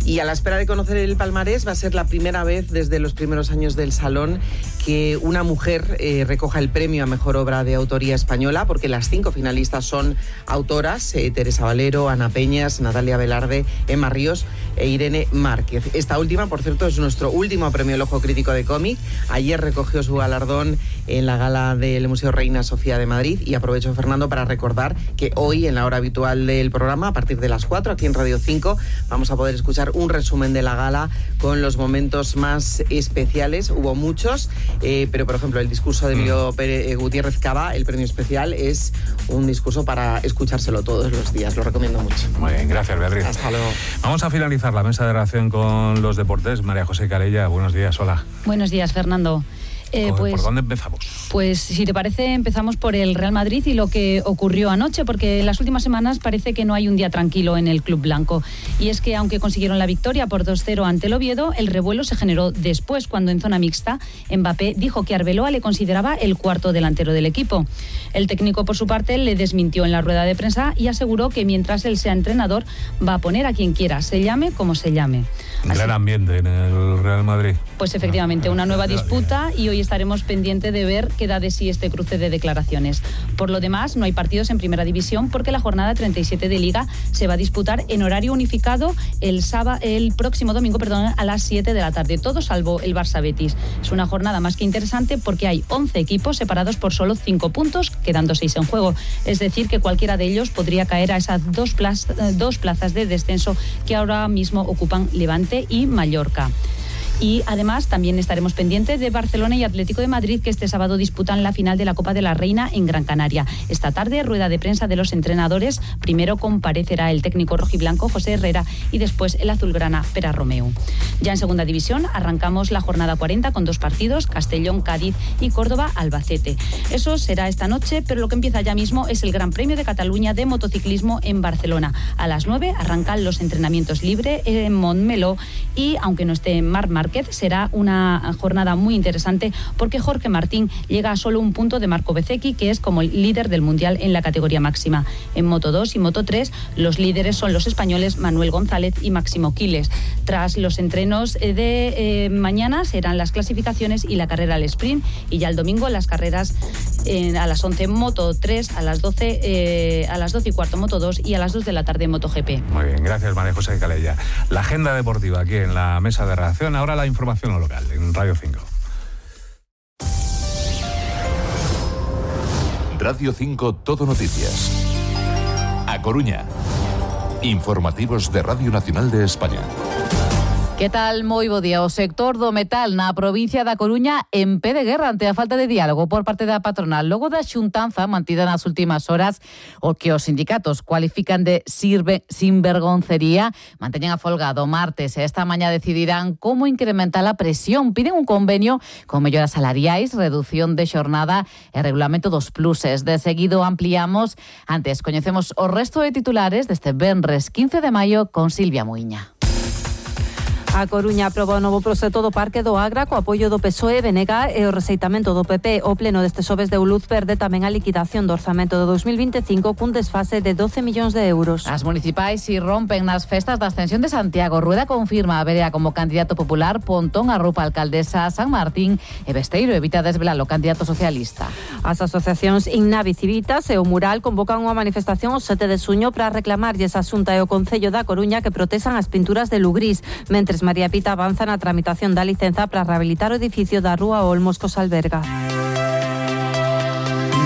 Y a la espera de conocer el palmarés, va a ser la primera vez desde los primeros años del Salón que una mujer recoja el premio a Mejor Obra de Autoría Española, porque las 5 finalistas son autoras, Teresa Valero, Ana Peñas, Natalia Velarde, Emma Ríos e Irene Márquez. Esta última, por cierto, es nuestro último premio El Ojo Crítico de Cómic. Ayer recogió su galardón en la gala del Museo Reina Sofía de Madrid, y aprovecho, Fernando, para recordar que hoy, en la hora habitual del programa, a partir de las 4, aquí en Radio 5, vamos a poder escuchar un resumen de la gala con los momentos más especiales. Hubo muchos, pero por ejemplo el discurso de Emilio Gutiérrez Cava, el premio especial, es un discurso para escuchárselo todos los días. Lo recomiendo mucho. Muy bien, gracias, Beatriz. Hasta luego. Vamos a finalizar la mesa de redacción con los deportes. María José Calella, buenos días, hola. Buenos días, Fernando. ¿Por dónde empezamos? Pues si te parece, empezamos por el Real Madrid y lo que ocurrió anoche, porque en las últimas semanas parece que no hay un día tranquilo en el club blanco. Y es que aunque consiguieron la victoria por 2-0 ante el Oviedo, el revuelo se generó después, cuando en zona mixta Mbappé dijo que Arbeloa le consideraba el cuarto delantero del equipo. El técnico, por su parte, le desmintió en la rueda de prensa y aseguró que mientras él sea entrenador va a poner a quien quiera, se llame como se llame. Gran ambiente en el Real Madrid. Pues efectivamente, una nueva disputa, y hoy estaremos pendientes de ver qué da de sí este cruce de declaraciones. Por lo demás, no hay partidos en Primera División, porque la jornada 37 de Liga se va a disputar en horario unificado el próximo domingo, a las 7 de la tarde, todo salvo el Barça-Betis. Es una jornada más que interesante porque hay 11 equipos separados por solo 5 puntos, quedando 6 en juego. Es decir, que cualquiera de ellos podría caer a esas dos plazas de descenso que ahora mismo ocupan Levante y Mallorca. Y además también estaremos pendientes de Barcelona y Atlético de Madrid, que este sábado disputan la final de la Copa de la Reina en Gran Canaria. Esta tarde, rueda de prensa de los entrenadores. Primero comparecerá el técnico rojiblanco José Herrera y después el azulgrana Pere Romeu. Ya en Segunda División arrancamos la jornada 40 con 2 partidos: Castellón, Cádiz y Córdoba, Albacete. Eso será esta noche, pero lo que empieza ya mismo es el Gran Premio de Cataluña de motociclismo en Barcelona. A las 9 arrancan los entrenamientos libres en Montmeló, y aunque no esté Marc Márquez, será una jornada muy interesante porque Jorge Martín llega a solo un punto de Marco Bezzecchi, que es como el líder del mundial en la categoría máxima. En Moto 2 y Moto 3 los líderes son los españoles Manuel González y Máximo Quiles. Tras los entrenos de mañana serán las clasificaciones y la carrera al sprint, y ya el domingo las carreras a las 11 Moto 3, a las 12 y cuarto Moto 2 y a las 2 de la tarde MotoGP. Muy bien, gracias, María José Calella. La agenda deportiva aquí en la mesa de redacción. Ahora la información local en Radio 5. Radio 5 Todo Noticias. A Coruña. Informativos de Radio Nacional de España. Que tal? Moi bo día. O sector do metal na provincia da Coruña en pé de guerra ante a falta de diálogo por parte da patronal. Logo da xuntanza mantida nas últimas horas, o que os sindicatos cualifican de sinvergoncería, manteñen a folga do martes e esta mañá decidirán como incrementar a presión. Piden un convenio con melloras salariais, reducción de xornada e regulamento dos pluses. De seguido ampliamos. Antes coñecemos o resto de titulares deste venres 15 de maio con Silvia Muiña. A Coruña aproba o novo proxecto do Parque do Agra co apoio do PSOE, BNG e o rexeitamento do PP. O pleno deste xoves deu luz verde tamén a liquidación do orzamento de 2025 cun desfase de 12 millóns de euros. As municipais si rompen nas festas da Ascensión de Santiago. Rueda confirma a Berea como candidato popular, Pontón arrupa a alcaldesa San Martín e Besteiro evita desvelar o candidato socialista. As asociacións Innavi Civitas e o Mural convocan unha manifestación o 7 de xuño para reclamarlles a Xunta e o Concello da Coruña que protexan as pinturas de Lugrís, mentres María Pita avanza na tramitación da licenza para rehabilitar o edificio da Rúa Olmos cos alberga.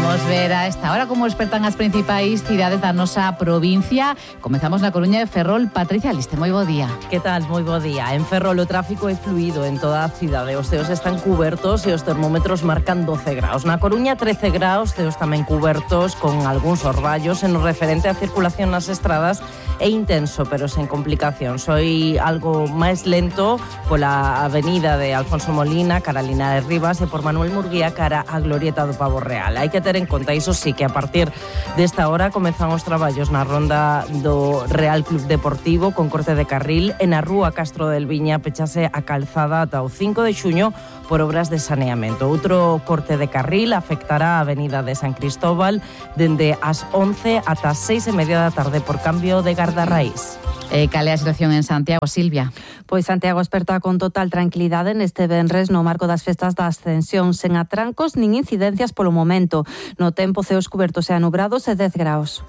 Vamos ver a esta hora como despertan as principais cidades da nosa provincia. Comezamos na Coruña de Ferrol. Patricia Liste, moi bo día. Que tal? Moi bo día. En Ferrol o tráfico é fluido en toda a cidade. Os ceos están cubertos e os termómetros marcan 12 graus. Na Coruña 13 graus, ceos tamén cubertos con algúns orballos. En o referente á circulación nas estradas é intenso, pero sen complicacións. Foi algo máis lento pola avenida de Alfonso Molina, cara a Linares Rivas, e por Manuel Murguía, cara a Glorieta do Pavo Real. Hai que ter en conta, iso sí, que a partir desta hora comezan os traballos na ronda do Real Club Deportivo con corte de carril e na rúa Castro del Viña pechase a calzada ata o 5 de xuño por obras de saneamento. Outro corte de carril afectará a avenida de San Cristóbal dende as 11 ata as 6:30 da tarde por cambio de da raíz. Cal é a situación en Santiago, Silvia? Pois Santiago esperta con total tranquilidade neste venres no marco das festas da Ascensión, sen atrancos nin incidencias polo momento. No tempo, ceos cubertos e anubrados e 10 graus.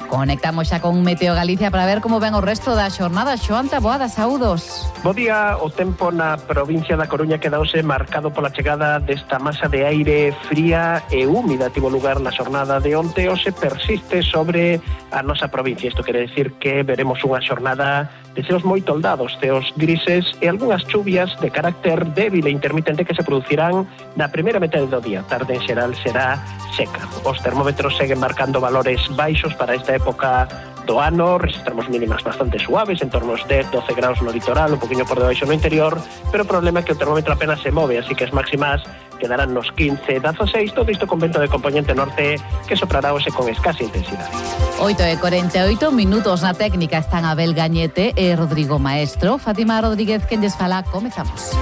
Conectamos xa con Meteo Galicia para ver como ven o resto da xornada. Xoan Taboada, saúdos. Bo día, o tempo na provincia da Coruña quedouse marcado pola chegada desta masa de aire fría e húmida. Tivo lugar na xornada de onte, hoxe persiste sobre a nosa provincia. Isto quere decir que veremos unha xornada de ceos moi toldados, ceos grises e algunhas chuvias de carácter débil e intermitente que se producirán na primeira metade do día. Tarde en xeral será seca. Os termómetros seguen marcando valores baixos para esta época do ano, registramos mínimas bastante suaves, en torno aos 10-12 graus no litoral, un poquinho por debaixo no interior, pero o problema é que o termómetro apenas se move, así que as máximas quedarán nos 15-16, todo isto con vento de componente norte que soprará hoxe con escasa intensidade. 8:48 minutos na técnica están Abel Gañete e Rodrigo Maestro. Fátima Rodríguez, quen lles fala, comezamos.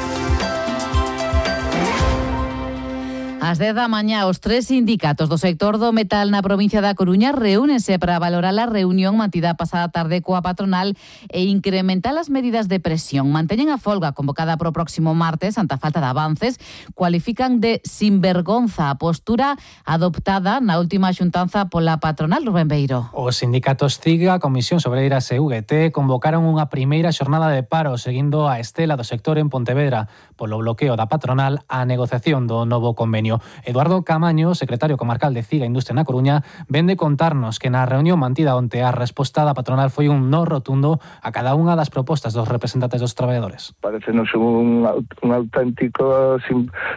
Ás 10 da mañá, os 3 sindicatos do sector do metal na provincia da Coruña reúnense para valorar a reunión mantida a pasada tarde coa patronal e incrementar as medidas de presión. Manteñen a folga convocada para o próximo martes ante a falta de avances. Cualifican de sinvergonza a postura adoptada na última xuntanza pola patronal. Rubén Beiro. Os sindicatos CIGA, Comisións Obreiras e UGT convocaron unha primeira xornada de paro seguindo a estela do sector en Pontevedra polo bloqueo da patronal á negociación do novo convenio. Eduardo Camaño, secretario comarcal de CIGA Industria na Coruña, ven de contarnos que na reunión mantida onte a resposta da patronal foi un no rotundo a cada unha das propostas dos representantes dos traballadores. Parecenos un auténtico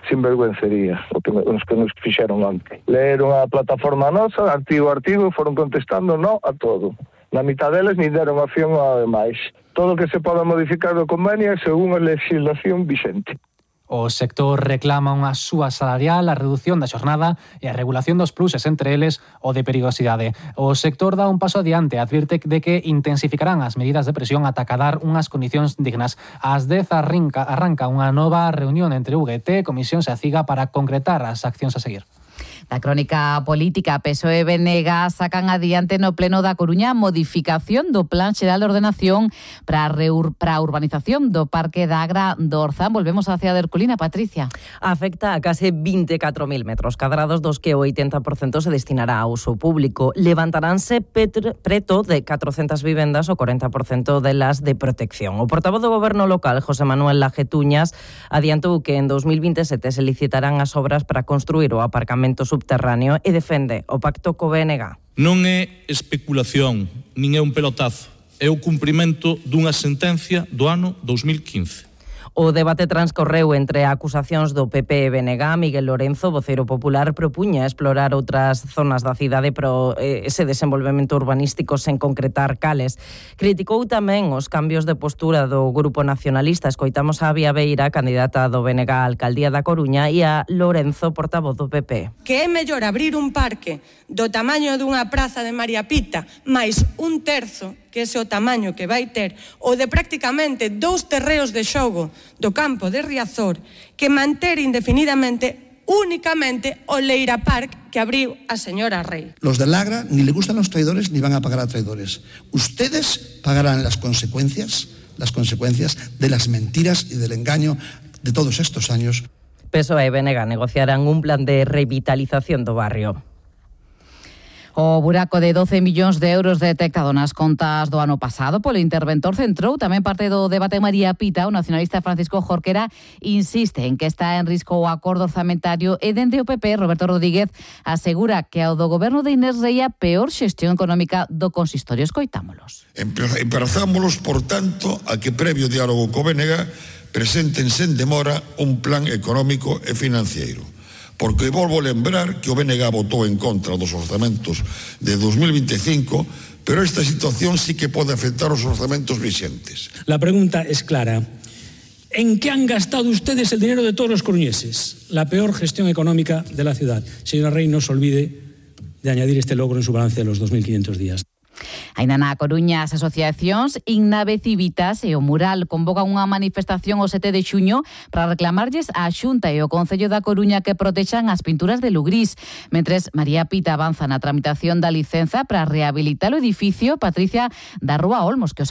sinvergüencería os que nos fixeron onte. Leeron a plataforma nosa, artigo a artigo, foron contestando no a todo. Na mitad deles nin deron opción a demais. Todo o que se poda modificar do convenio é según a legislación vixente. O sector reclama unha súa salarial, a redución da xornada e a regulación dos pluses, entre eles o de perigosidade. O sector dá un paso adiante, advirte de que intensificarán as medidas de presión ata acadar unhas condicións dignas. Ás 10 arranca unha nova reunión entre UGT, Comisións e a CIGA para concretar as accións a seguir. Da crónica política, PSOE e BNG sacan adiante no Pleno da Coruña modificación do Plan Xeral de Ordenación para a urbanización do Parque da Agra do Orzán. Volvemos á cidade de Herculina, Patricia. Afecta a case 24.000 metros cadrados, dos que o 80% se destinará a uso público. Levantaránse preto de 400 vivendas, o 40% delas de protección. O portavoz do Goberno local, José Manuel Lajetuñas, adiantou que en 2027 se licitarán as obras para construir o aparcamento subterráneo e defende o pacto co BNG. Non é especulación, nin é un pelotazo, é o cumprimento dunha sentencia do ano 2015. O debate transcorreu entre acusacións do PP e BNG. Miguel Lorenzo, voceiro popular, propuña explorar outras zonas da cidade pero ese desenvolvemento urbanístico sen concretar cales. Criticou tamén os cambios de postura do Grupo Nacionalista. Escoitamos a Bia Beira, candidata do BNG á Alcaldía da Coruña, e a Lorenzo, portavoz do PP. Que é mellor abrir un parque do tamaño dunha praza de María Pita máis un terzo, que ese o tamaño que vai ter, o de prácticamente 2 terreos de xogo do campo de Riazor, que manter indefinidamente únicamente o Leira Park que abriu a señora Rey. Los del Agra ni le gustan los traidores ni van a pagar a traidores. Ustedes pagarán las consecuencias de las mentiras y del engaño de todos estos años. PSOE e BNG negociarán un plan de revitalización do barrio. O buraco de 12 millóns de euros detectado nas contas do ano pasado polo interventor centrou tamén parte do debate María Pita. O nacionalista Francisco Jorquera insiste en que está en risco o acordo orzamentario e dende o PP Roberto Rodríguez asegura que ao do goberno de Inés Rei a peor xestión económica do consistorio. Escoitámolos. Emplazámolos, por tanto, a que previo diálogo co BNG presenten sen demora un plan económico e financiero. Porque volvo a lembrar que o BNG votou en contra dos orzamentos de 2025, pero esta situación sí que pode afectar os orzamentos vixentes. La pregunta es clara. ¿En qué han gastado ustedes el dinero de todos los coruñeses? La peor gestión económica de la ciudad. Señora Rey, no se olvide de añadir este logro en su balance de los 2.500 días. Ainda na Coruña, as asociacións Innave Civitas e o Mural convocan unha manifestación o 7 de xuño para reclamarlles á Xunta e o Concello da Coruña que protexan as pinturas de Lugrís. Mentres María Pita avanza na tramitación da licenza para rehabilitar o edificio, Patricia da Rúa Olmos, que os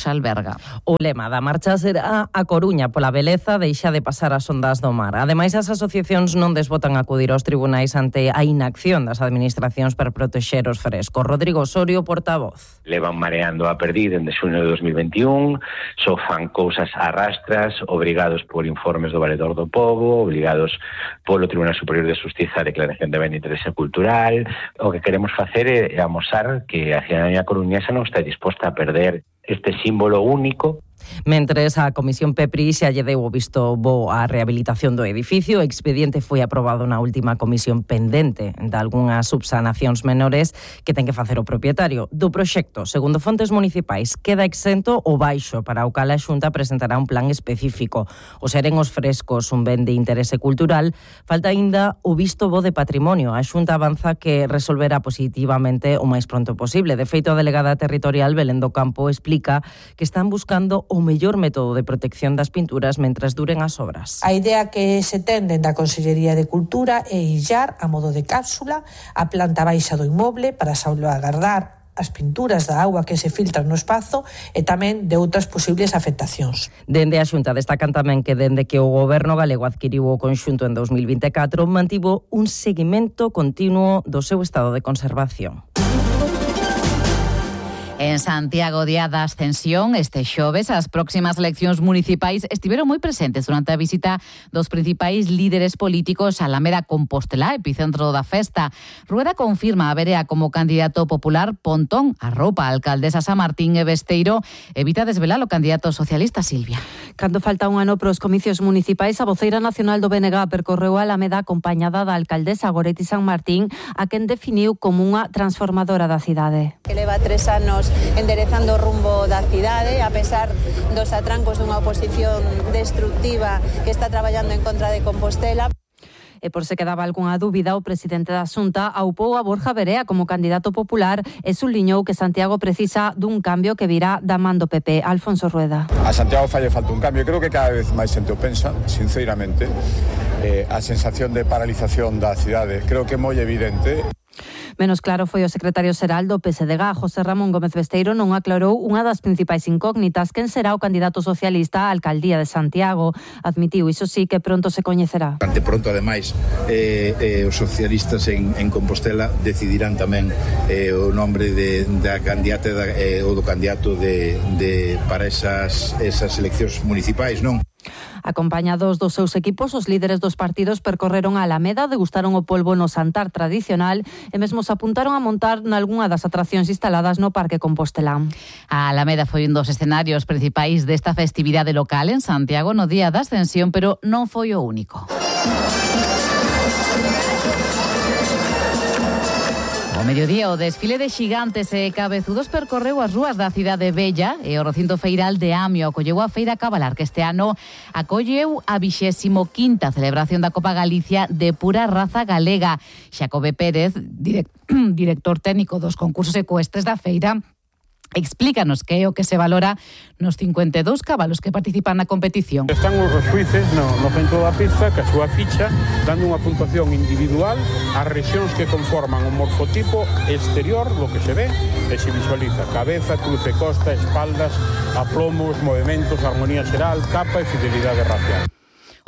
alberga. O lema da marcha será A Coruña pola beleza deixa de pasar as ondas do mar. Ademais, as asociacións non desbotan acudir aos tribunais ante a inacción das administracións para protexer os frescos. Rodrigo Osorio, portavoz. Levan mareando a perdiz dende xuño de 2021, só fan cousas a rastras, obrigados por informes do Valedor do Pobo, obrigados polo Tribunal Superior de Xustiza a declaración de ben de interese cultural. O que queremos facer é amosar que a cidadanía coruñesa non está disposta a perder este símbolo único. Mentres a Comisión PEPRI xa lle deu o visto bo á rehabilitación do edificio, o expediente foi aprobado na última comisión pendente de algunhas subsanacións menores que ten que facer o propietario do proxecto. Segundo fontes municipais, queda exento o baixo para o cal a Xunta presentará un plan específico. O seren os frescos un ben de interese cultural, falta aínda o visto bo de patrimonio. A Xunta avanza que resolverá positivamente o máis pronto posible. De feito, a delegada territorial Belén do Campo explica que están buscando o mellor método de protección das pinturas mentres duren as obras. A idea que se ten dende a Consellería de Cultura é illar a modo de cápsula a planta baixa do inmoble para salvaguardar as pinturas da auga que se filtran no espazo e tamén de outras posibles afectacións. Dende a Xunta destacan tamén que dende que o Goberno galego adquiriu o conxunto en 2024 mantivo un seguimento continuo do seu estado de conservación. En Santiago, día da Ascensión, este xoves, as próximas eleccións municipais estiveron moi presentes durante a visita dos principais líderes políticos a Alameda Compostela, epicentro da festa. Rueda confirma a Berea como candidato popular. Pontón arropa a alcaldesa San Martín e Besteiro evita desvelar o candidato socialista Silvia. Cando falta un ano para os comicios municipais, a voceira nacional do BNG percorreu a Alameda acompañada da alcaldesa Goretti San Martín, a quen definiu como unha transformadora da cidade. Que leva 3 anos enderezando o rumbo da cidade, a pesar dos atrancos dunha oposición destructiva que está traballando en contra de Compostela. E por se quedaba algunha dúbida, o presidente da Xunta aupou a Borja Berea como candidato popular e subliñou que Santiago precisa dun cambio que virá da man do PP. Alfonso Rueda. A Santiago falle falta un cambio. Creo que cada vez máis xente o pensa, sinceramente. A sensación de paralización da cidade creo que é moi evidente. Menos claro foi o secretario xeral do PSDG, José Ramón Gómez Besteiro, non aclarou unha das principais incógnitas, quen será o candidato socialista á alcaldía de Santiago. Admitiu, iso sí, que pronto se coñecerá. Ante pronto, ademais, os socialistas en Compostela decidirán tamén o nombre da candidata ou do candidato para esas eleccións municipais, non? Acompañados dos seus equipos, os líderes dos partidos percorreron a Alameda, degustaron o polvo no Santar tradicional e mesmo se apuntaron a montar nalgunha das atraccións instaladas no Parque Compostelán. A Alameda foi un dos escenarios principais desta festividade local en Santiago no día da Ascensión, pero non foi o único. O mediodía, o desfile de xigantes e cabezudos percorreu as rúas da cidade bella e o recinto feiral de Amio acolleu a Feira Cabalar, que este ano acolleu a 25ª celebración da Copa Galicia de pura raza galega. Xacobe Pérez, director técnico dos concursos ecuestres da feira, explícanos que é o que se valora nos 52 cabalos que participan na competición. Están os xuíces no centro da pista, que a súa ficha, dando unha puntuación individual ás rexións que conforman o morfotipo exterior, lo que se ve e se visualiza: cabeza, cruce, costa, espaldas, aplomos, movimentos, armonía xeral, capa e fidelidade racial.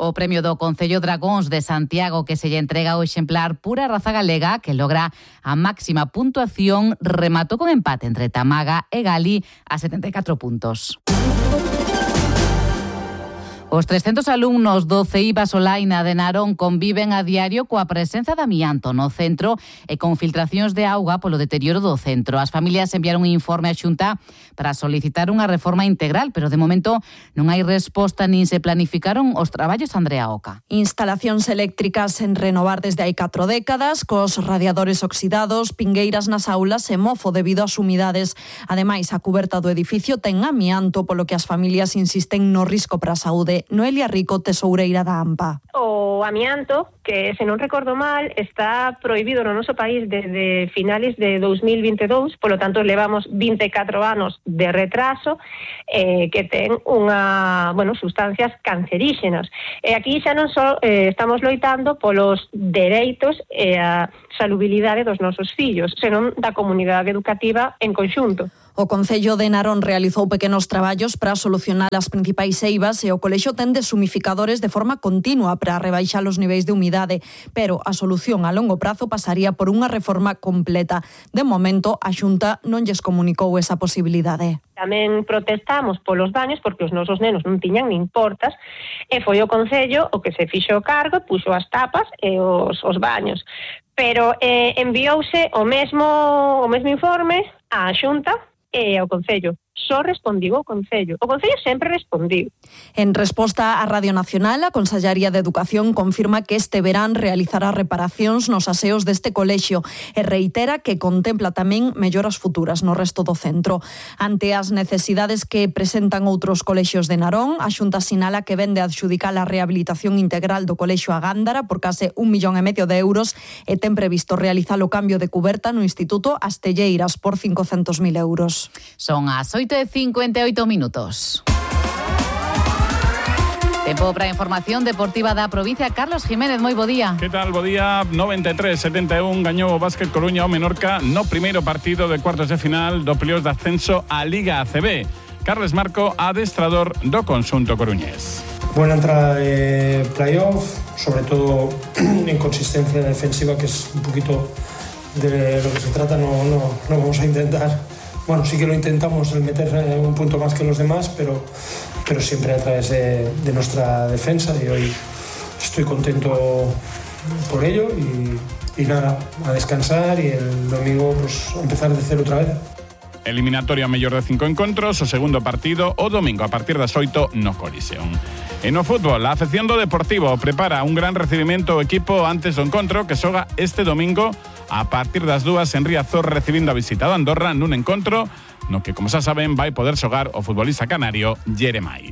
O premio do Concello Dragóns de Santiago, que se lle entrega o exemplar pura raza galega, que logra a máxima puntuación, rematou con empate entre Tamaga e Gali a 74 puntos. Os 300 alumnos do CEI Basolaina de Narón conviven a diario coa presenza de amianto no centro e con filtracións de auga polo deterioro do centro. As familias enviaron un informe á Xunta para solicitar unha reforma integral, pero de momento non hai resposta nin se planificaron os traballos. Andrea Oca. Instalacións eléctricas en renovar desde hai 4 décadas, cos radiadores oxidados, pingueiras nas aulas e mofo debido ás humidades. Ademais, a cuberta do edificio ten amianto, polo que as familias insisten no risco para a saúde. Unidade. Noelia Rico, tesoureira da AMPA. O amianto, que se non recordo mal, está prohibido no noso país desde finales de 2022, polo tanto levamos 24 anos de retraso, que ten sustancias canceríxenas. E aquí xa non só estamos loitando polos dereitos e a salubilidade dos nosos fillos, senón da comunidade educativa en conxunto. O Concello de Narón realizou pequenos traballos para solucionar as principais eivas e o colexio ten deshumificadores de forma continua para rebaixar os niveis de humidade, pero a solución a longo prazo pasaría por unha reforma completa. De momento, a Xunta non lles comunicou esa posibilidade. Tamén protestamos polos baños porque os nosos nenos non tiñan nin portas e foi o Concello o que se fixo cargo e puxo as tapas e os baños. Pero enviouse o mesmo informe á Xunta e ao Concello. Só respondiu o Concello. O Concello sempre respondiu. En resposta á Radio Nacional, a Consellaría de Educación confirma que este verán realizará reparacións nos aseos deste colexio e reitera que contempla tamén melloras futuras no resto do centro. Ante as necesidades que presentan outros colexios de Narón, a Xunta sinala que vende adxudicar a rehabilitación integral do colexio a Gándara por case 1,5 millón de euros e ten previsto realizar o cambio de cuberta no Instituto Astelleiras por 500.000 euros. Son as 8:58 minutos. Tempo para a información deportiva da provincia. Carlos Jiménez, moi bo día. Que tal, bo día? 93-71 gañou o Básquet Coruña ao Menorca no primeiro partido de cuartos de final do playoff de ascenso á Liga ACB. Carles Marco, adestrador do conxunto coruñés. Buena entrada de playoff, sobre todo en consistencia defensiva, que es un poquito de lo que se trata. No vamos a intentar. Bueno, sí que lo intentamos el meter un punto más que los demás, pero siempre a través de nuestra defensa, y hoy estoy contento por ello y nada, a descansar y el domingo pues empezar de cero otra vez. Eliminatoria mellor de 5 encontros, o segundo partido o domingo a partir das 8 no Coliseum. E no fútbol, a afección do Deportivo prepara un gran recibimento ao equipo antes do encontro que xoga este domingo a partir das 2 en Riazor, recibindo a visita do Andorra nun encontro no que, como xa saben, vai poder xogar o futbolista canario Jeremai.